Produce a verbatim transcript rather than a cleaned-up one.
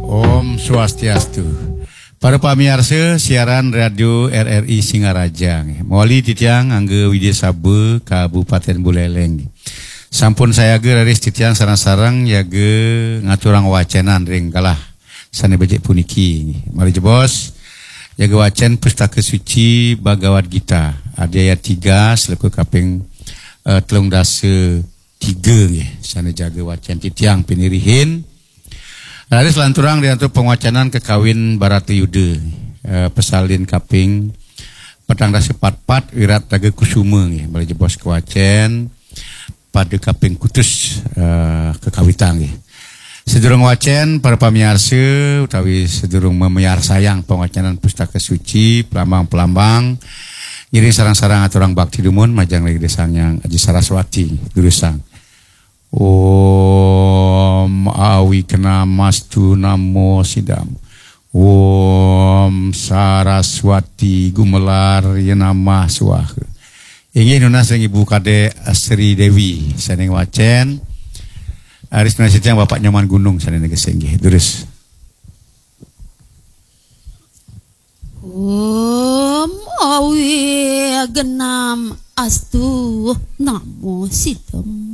Om Swastiastu. Para pamiarsa siaran Radio R R I Singaraja, nggih. Mawali titiang Angga Widya Saba, Kabupaten Buleleng, nggih. Sampun sayaga raris titiang sareng-sareng yaga ngaturang wacenan ring galah sane becik puniki, nggih. Malih jebos, yaga wacen Pustaka Suci Bhagavad Gita, adhyaya tiga, sloka kaping, eh, telung dasa tiga, nggih. Sane jaga wacen titiang pinih rihin. Raris lanturang ring antuk pangwacenan kakawin Baratayuda, eh, pasalin kaping petang dasa patpat, Wirat Raga Kusuma, nggih, malih jebos kawacen pada kaping kutus, eh, kakawitang, nggih. Sadurung wacen, para pamiarsa utawi sadurung mamiarsayang pangwacenan Pustaka Suci, pelambang-pelambang, ngiring sareng-sareng aturang bakti dumun majeng ring Ida Sang Hyang Aji Saraswati, durusang. Om Awighnamastu Namo Siddham. Om Saraswati Gumelar Yenamah Swaha. Inggih nunas ring Ibu Kadek Sri Dewi sane ngwacen. Raris nunas titiang Bapak Nyoman Gunung sane negese, nggih. Durus. Om Awighnam Astu Namo Siddham.